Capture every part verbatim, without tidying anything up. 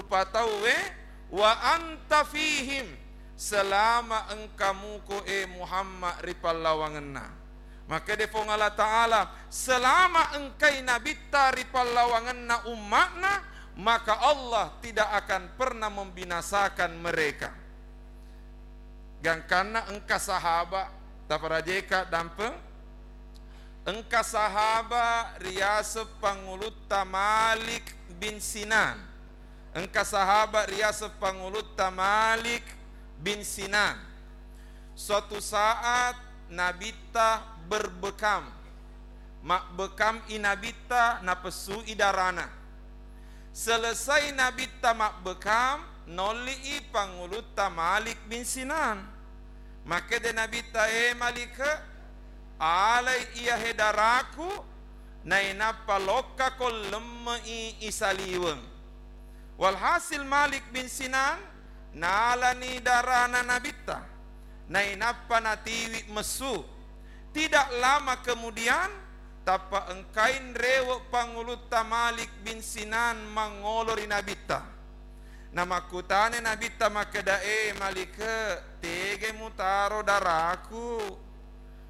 patauwe, wa anta fihim, selama engka muko, e Muhammad, ri pallawangenna. Makkeda Puang Allah Ta'ala, selama engkai nabitta ri pallawangenna umma'na, maka Allah tidak akan pernah membinasakan mereka. Gangkanna engka sahaba, taparajeka dampeng, engka sahaba riaseng pangulutta Malik bin Sinan. Engka sahaba riaseng pangulutta Malik bin Sinan. Suatu saat nabitta berbekam, mabbekam i nabitta, napessui darana. Selesai nabitta mabbekam, nolli i pangulutta Malik bin Sinan. Makkeda nabitta, e Malik, alai iyahe daraku, nainappa lokkako lemme i isaliweng. Walhasil, Malik bin Sinan nalani darana nabitta, nainappa natiwi messu. Tidak lama kemudian, tappa engkai nrewe pangulutta Malik bin Sinan mangolo ri nabitta. Namakkutana nabitta makkeda, e Malik, tega mutaro daraku?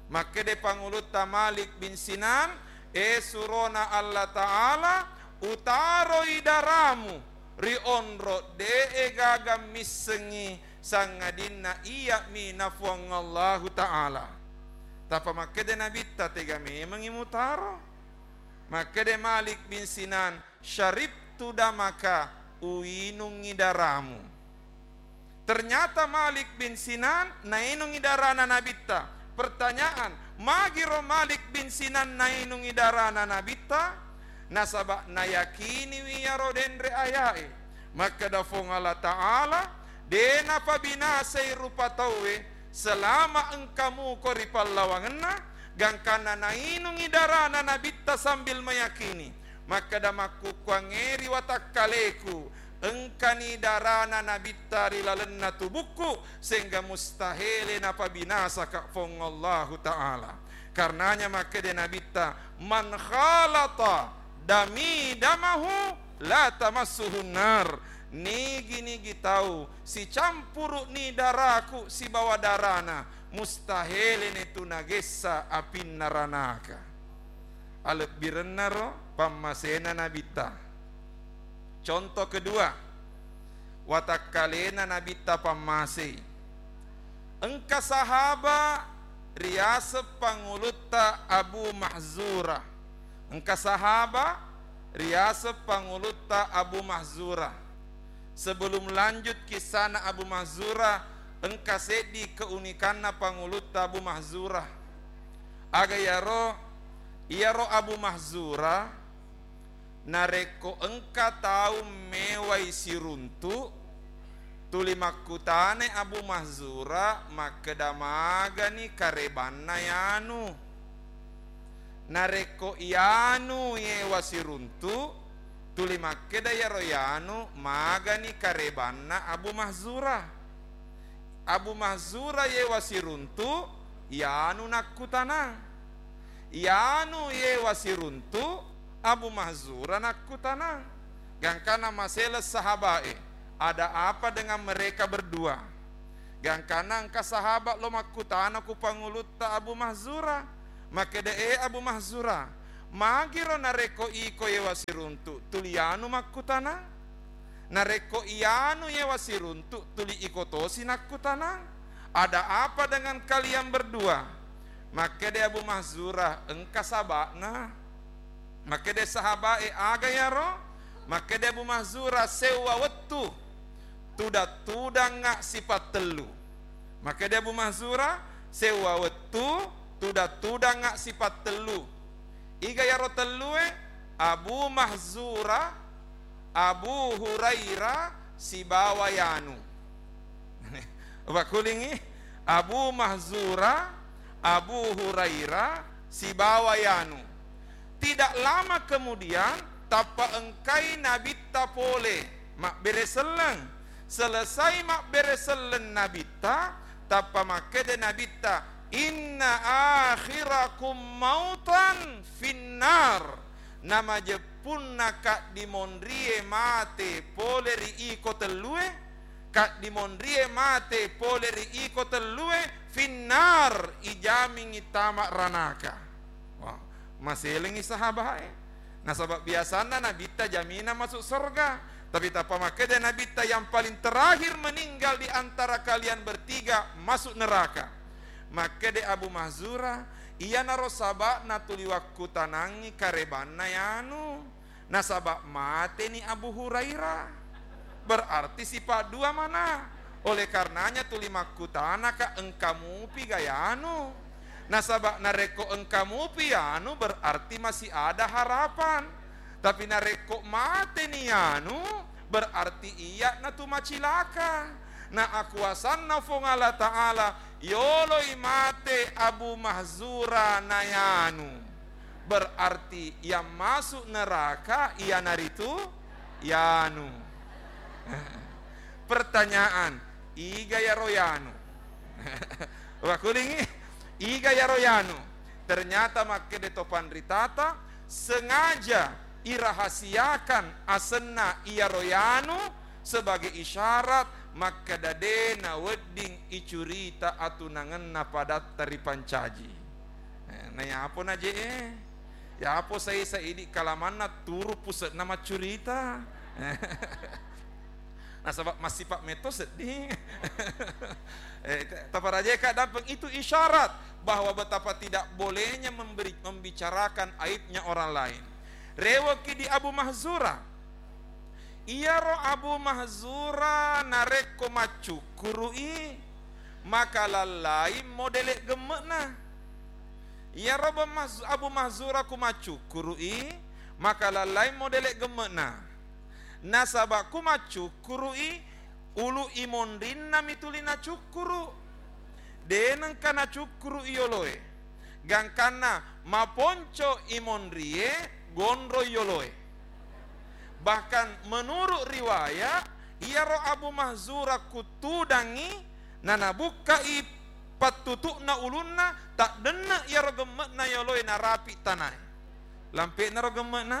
Makkeda pangulutta Malik bin Sinan, e surona Allah Ta'ala, utaroi daramu ri onro de'e gaga missengngi, sangadinna iya'mi na Puang Allahu Ta'ala. Tappa makkeda nabitta, tega memengngi mutaro? Makkeda Malik bin Sinan, syaribtu damaka, uinungngi daramu. Ternyata Malik bin Sinan nainungngi darana nabitta. Pertanyaan, magiro Malik bin Sinan nainungngi darana nabitta? Nasaba nayakiniwi iyaro denre aya'e. Makkeda Puang Allah Ta'ala, de napabinasai rupa tauwe selama engka muko ri pallawangenna, gangkanna nainungngi darana nabitta sambil meyakini. Makkeda, makkukkuangnge ri watakkaleku, engkani darana nabitta ri lalenna tubukku, sehingga mustahele napabinasaka Puang Allahu Ta'ala. Karenanya makkeda nabitta, man khalata dami damahu la tamassuhun nar. Nigi-nigi tau sicampuruni daraku sibawa darana, mustahele netu nagessa apinna ranaka. Alebbirennaro pammasena nabitta. Contoh kedua, watakkalena nabitta pammasei. Engka sahaba riaseng pangulutta Abu Mahzura. Engka sahaba riaseng pangulutta Abu Mahzura. Sebelum lanjut kissana Abu Mahzura, engka seddi keunikanna pangulutta Abu Mahzura. Aga iyaro? Iyaro Abu Mahzura, narekko engka tau mewai siruntu, tuli makkutana Abu Mahzura makkeda, magani karebanna yanu. Narekko yanu yewa siruntu, tuli makkeda iyaro yanu, magani karebanna Abu Mahzura. Abu Mahzura yewa siruntu, yanu nakkutanang. Yanu yewa siruntu, Abu Mahzura nakkutanang. Gangkana maseleng sahabae, ada apa dengan mereka berdua? Gangkana engka sahabat lo makkutana ku pangulutta Abu Mahzura. Makkeda, e Abu Mahzura, magiro narekko iko yewa siruntu, tuli yanu makkutanang? Narekko iyanu yewa siruntu, tuli iko tosi nakkutanang, ada apa dengan kalian berdua? Makkeda Abu Mahzura, engka saba'na. Makkeda sahabae, aga yaro? Makkeda Abu Mahzura, sewwa wettu, tudang-tudangnga sipattellu. Makkeda Abu Mahzura, sewwa wettu, tudang-tudangnga sipattellu. Iga yaro tellue? Abu Mahzura, Abu Hurairah, sibawa yanu. Pakkulingngi, Abu Mahzura, Abu Hurairah, sibawa yanu. Tidak lama kemudian, tappa engkai nabitta pole mabbere selleng. Selesai mabbere selleng nabitta, tappa makkeda nabitta, inna akhirakum mautan finnar. Namajeppu Punna kaddimonrie mate pole ri iko tellue, kaddimonrie mate pole ri iko tellue, finnar, ijamingi tama ranaka. Wah, maselengi sahabae. Nasaba biasanna Nabitta jaminang masuk sorga. Tapi tappa makkeda Nabitta yang paling terakhir meninggal di antara kalian bertiga masuk neraka. Makkeda Abu Mahzura, iyanaro saba'na tuli wakkutanangi karebanna yanu. Nasaba mateni Abu Hurairah. Berarti sifat dua mana? Oleh karenanya tuli makkutanaka engka mupi ga yanu. Nasaba narekko engka mupi yanu, berarti masih ada harapan. Tapi narekko mateni yanu, berarti iya'na tu macilaka. Na akuasanna Fuang Allah Ta'ala, yoloi mate Abu Mahzura na yanu. Berarti yang masuk neraka iyanaritu yanu. Pertanyaan, iga yaro yanu? Wakulingi, iga yaro yanu? Ternyata makkeda to panritata, sengaja irahasiakan asenna iyaro yanu sebagai isyarat makkeda de nawedding icurita atunangenna padatta ripancaji. Eh, na yapo naje e, yapo sai-sai idi kalamanna turu puse'na maccurita. Nasaba massipa metto seddi. Eh, taparajeka dampeng itu isyarat bahwa betapa tidak bolehnya memberi, membicarakan aibnya orang lain. Rewoki di Abu Mahzura. Iyaro Abu Mahzura narekko maccukkuru'i, maka lallai modele gemme'na. Iyaro Abu Mahz-, Abu Mahzura ku maccukkuru'i, maka lallai modele gemme'na. Nasaba ku maccukkuru'i, ulu imonrinna mi tuli nacukkuru. De nengka nacukkuru iyoloe. Gangkanna maponco imonrie, gonro iyoloe. Bahkan menurut riwayat, iyaro Abu Mahzura kuttudangi, nanabukkai pattutu'na ulunna, taddenne iyaro gemme'na iyoloe narapi tanae. Lampe'naro gemme'na?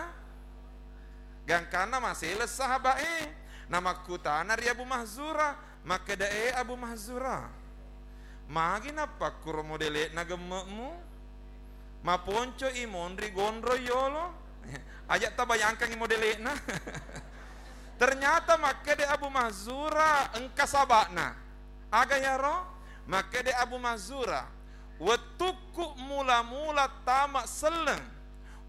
Gangkanna maseleng sahaba'e, namakkutana ri Abu Mahzura, makkeda, "E Abu Mahzura, magi nappakkuro modele'na gemme'mu? Maponco imonri gonro yolo?" Aja tabayangkangi modele'na. Ternyata makkeda Abu Mahzura engka saba'na. Aga yaro? Makkeda Abu Mahzura, "Wettukku mula-mula tama selleng,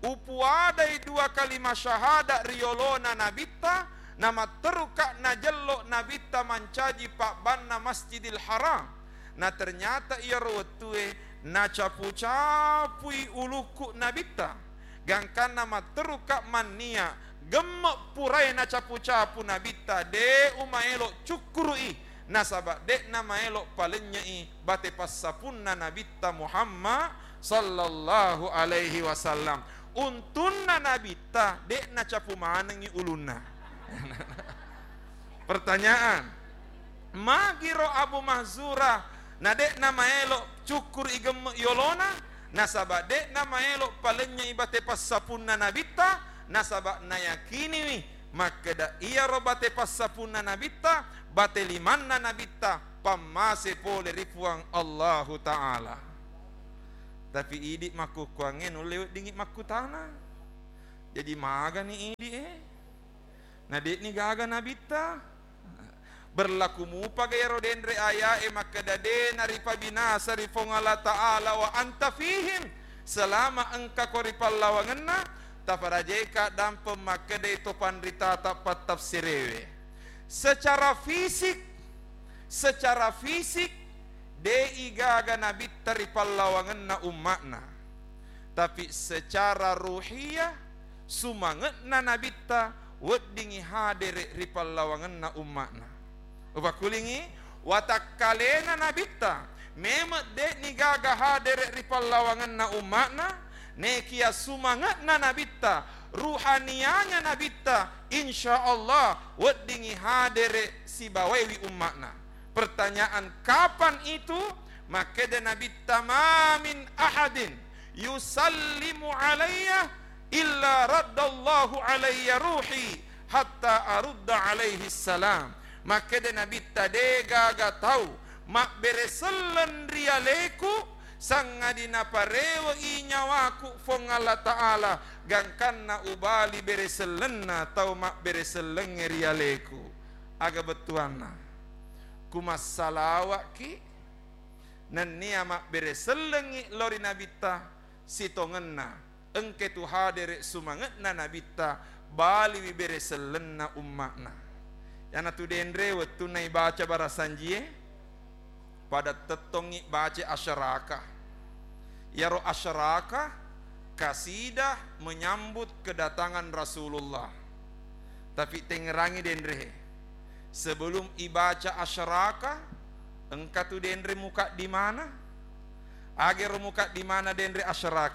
upuadai dua kalima syahada ri yolona Nabitta, namatteruka najello Nabitta mancaji pabbanna Masjidil Haram. Na ternyata iyaro wettue nacapu-capui ulukku Nabitta. Gangkanna matteruka mannia gemme purae nacapu-capu Nabitta, de umaelo cukkuru'i, nasaba de'na maelo palennyei bate passapunna Nabitta Muhammad sallallahu alaihi wasallam. Untunna Nabitta de nacapu manengngi ulunna." Pertanyaan, magiro Abu Mahzura na de'na maelo cukkuru i gemme yolona, nasaba de'na maelo palennyei bate passapunna Nabitta, nasaba nayakiniwi makkeda iyaro bate passapunna Nabitta, bate limanna Nabitta, pammase pole ri Puang Allahu Ta'ala. Tapi idi makkukkuangnge nulle weddingngi makkutana. Jadi magani idi e? Na de'ni gaga Nabitta? Berlaku mupaga iyaro denre aya'e makkeda de naripabinasa ri Puang Allah Ta'ala wa anta fihim, selama engkako ri pallawangenna? Taparajeka dampeng makkedai to panritata pattafsirewe. Secara fisik, secara fisik, de'i gaga Nabitta ri pallawangenna umma'na. Tapi secara ruhiyah, sumange'na Nabitta weddingngi hadere ri pallawangenna umma'na. Upakkulingngi, watakkalena Nabitta, memeng de'ni gaga hadere ri pallawangenna umma'na, nekia sumange'na Nabitta, ruhaniyanya Nabitta, insya Allah weddingngi hadere sibawaiwi umma'na. Pertanyaan, kapan itu? Makkeda Nabitta, "Ma min ahadin yusallimu alayya "Illa raddallahu alayya ruhi hatta arudda alaihi salam." Makkeda Nabitta, "De gaga tau mabbere selleng ri aleku, sangadi naparewe'i nyawaku Puang Allah Ta'ala, gangkanna ubali bere sellenna tau mabbere sellengnge ri aleku." Aga bettuanna? Kumassalawa'ki, nennia mabbere sellengngi lao ri Nabitta, sitongenna engke tu hadere sumange'na Nabitta, baliwi bere sellenna umma'na. Iyanatu denre wettunna ibaca barasanjie, pada tettongngi baca asyaraka. Iyaro asyaraka kasidah menyambut kedatangan Rasulullah. Tapi tengngerangi denre, sebelum ibaca asyaraka, engka tu denre mukaddimana. Agero mukaddimana denre asyaraka.